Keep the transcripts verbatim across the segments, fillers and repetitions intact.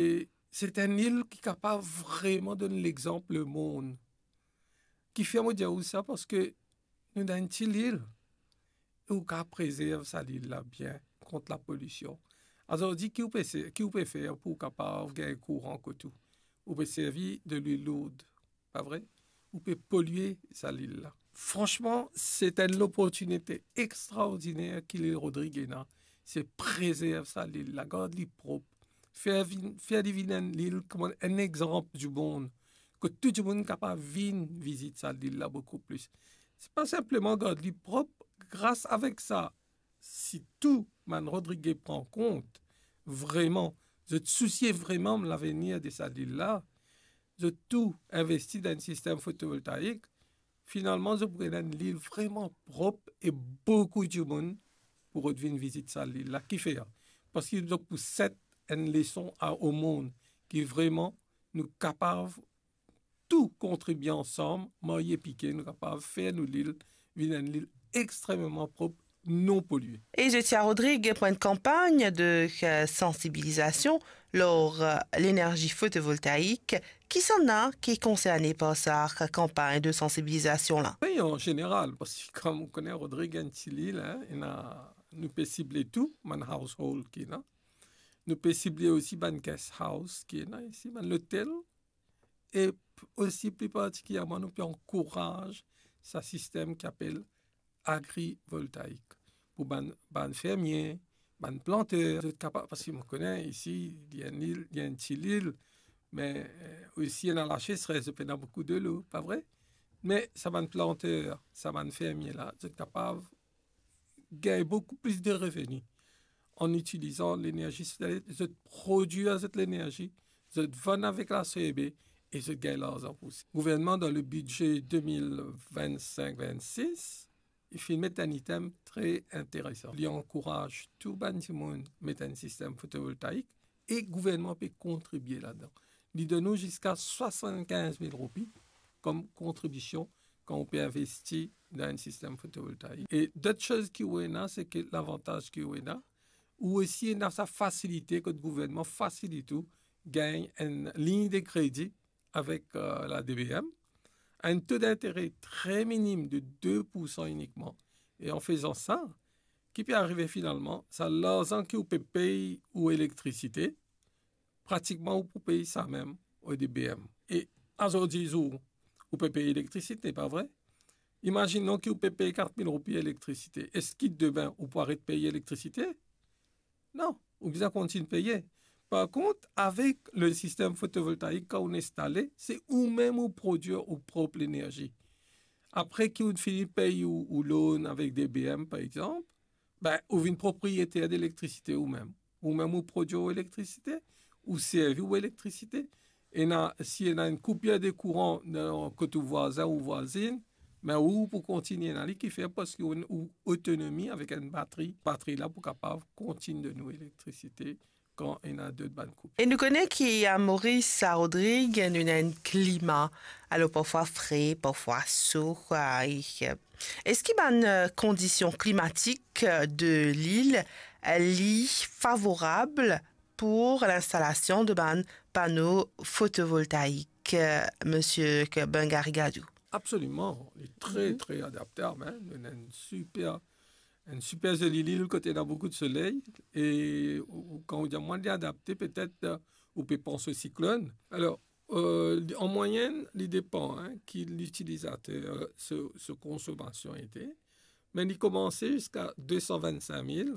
E se enn lil ki kapav vreman donn lexanp lemond. Kifer mo dir ou sa? Parski nou dan enn ti lil e ou kapav prezerv sa lil la bien kont lapolsion. Azordi, ki ou pe se-, ki ou pe fer pou ou kapav gagn kouran kot ou? Ou pe servi de lwil lourd, pa vre? Ou pe polie sa lil la. Fransman, se enn loportinite extraordiner ki Lil Rodrig ena. Se prezerv sa lil la, gard li prop, fer vinn, fer li vinn enn lil kouma enn exanp dimond, kot tou dimoun kapav vinn vizit sa lil la boukou plis. Se pa sinpleman gard li prop, gras avek sa, si tou bann Rodrige pran kont, vreman, zot sousie vreman lavenir de sa lil la, zot tou investi dan enn sistem fotovoltaik, finalman, zot pou gagn enn lil vreman prop e boukou dimoun pou rod vinn vizit sa lil la. Kifer? Parski zot pou set enn leson a, o mond, ki vreman nou kapav tou kontribie ansam, marye pike, nou kapav fer nou lil vinn enn lil extrememan prop, non polie. E zot ti a Rodrig pou enn kanpagn de, eh, sansibilizasion lor, eh, lenerzi fotovoltaik. Kisannla ki konserne par sa kanpagn de sansibilizasion la? Wi, an zeneral, parski kouma ou kone, Rodrig enn ti lil, hein, ena, nou pe sible tou bann household ki ena. Nou pe sible osi bann guest house ki ena isi, bann lotel, e p-, osi pli partikilierman, nou pe ankouraz sa sistem ki apel agrivoltaik. Pou bann, bann fermie, bann planter, zot kapav, parski mo kone isi, li enn lil, li enn ti lil, me, eh, osi ena lasesres, zot pena boukou delo, pa vre? Me sa bann planter, sa bann fermie la, zot kapav gagn boukou plis de reveni an itilizan lenerzi solel, zot prodwir zot lenerzi, zot vann avek la C E B e zot gagn larzan pou sa. Gouvernman, dan le bidze de mil vennsink vennsis, li finn met enn item tre interesan. Li ankouraz tou bann dimoun met enn sistem fotovoltaik e gouvernman pe kontribie ladan. Li donn nou ziska swasannkinz mil roupi kom kontribision kan ou pe investi dan enn sistem fotovoltaik. E dot soz ki ou ena, se ke lavantaz ki ou ena, ou osi ena sa fasilite kot gouvernman fasilit ou gagn enn lign de kredi avek, eh, la D B M, enn to dintere tre minim de de poursan inikman. E an fezan sa, ki pe arive finalman, sa larzan ki ou pe pey ou elektrisite, pratikman ou pou pey sa mem o D B M. E azordi zour, ou pe pey elektrisite, pa vre? Imazinn ki ou pe pey kat mil roupi elektrisite. Eski demin ou pou aret pey elektrisite? Non, ou bizin kontign peye. Par kont, avek le sistem fotovoltaik, kan ou instale, se ou mem ou prodwir ou prop lenerzi. Apre ki ou fini pey ou, ou loan avek D B M, par exanp, ben, ou vinn propriyeter de elektrisite ou mem. Ou mem ou prodwir ou elektrisite, ou servi ou elektrisite. Ena, si ena enn koupir de kouran dan kot ou vwazin ou vwazinn, me ou pou kontign ena li, kifer? Parski ou, ou otonomi avek enn batri. Batri la pou kapav kontign donn ou elektrisite kan ena dot bann koup. E nou kone ki a Moris, a Rodrig, nou ena enn klima, alor parfwa fre, parfwa so, kwa, e, eh, eski bann, eh, kondision klimatik, eh, de lil, eh, li favorab pou linstalasion de bann pano fotovoltaik, eh, Misie Bengari Gadou? Absoliman, li tre, mhm, tre adaptab, hein. Nou ena enn siper, enn siper zoli lil kot ena boukou de soley. E ou, ou, kan ou dir mwa li adapte, petet, eh, ou pe panse siklonn. Alor, eh, li, an mwayenn, li depan, hein, ki litilizater, eh, so, so konsomasion ete. Me li koumanse ziska de san vennsink mil,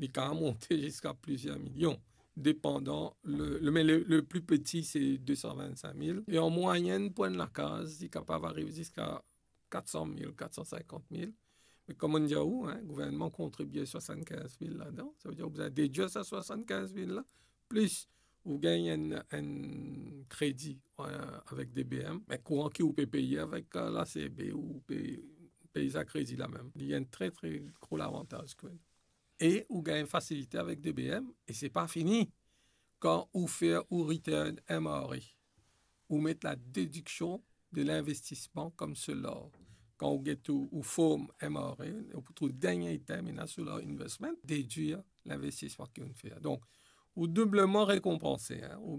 li kapav monte ziska plizier milion, depandan le, le, me le, le pli peti, se de san vennsink mil. E an mwayenn, pou enn lakaz, li kapav ariv ziska kat san mil, kat san sinkant mil. Me kouma mo dir ou, hein, gouvernman kontribie swasannkinz mil ladan. Savedir ou bizin dedwir sa swasannkinz mil la, plis ou gagn enn, enn kredi, eh, avek D B M. Me kouran ki ou pe peye avek, eh, la C B, ou pe pey sa kredi la mem. Li enn tre, tre gro lavantaz, kwa. E ou gagn fasilite avek D B M, e se pa fini. Kan ou fer ou return M R A, ou met la dediksion de linvestisman kom solar. Kan ou get ou, ou form M R A, ou pou trouv dernie item ena solar investment, dedwir linvestisman ki ou fer. Donk, ou doubleman rekonpanse, hein. Ou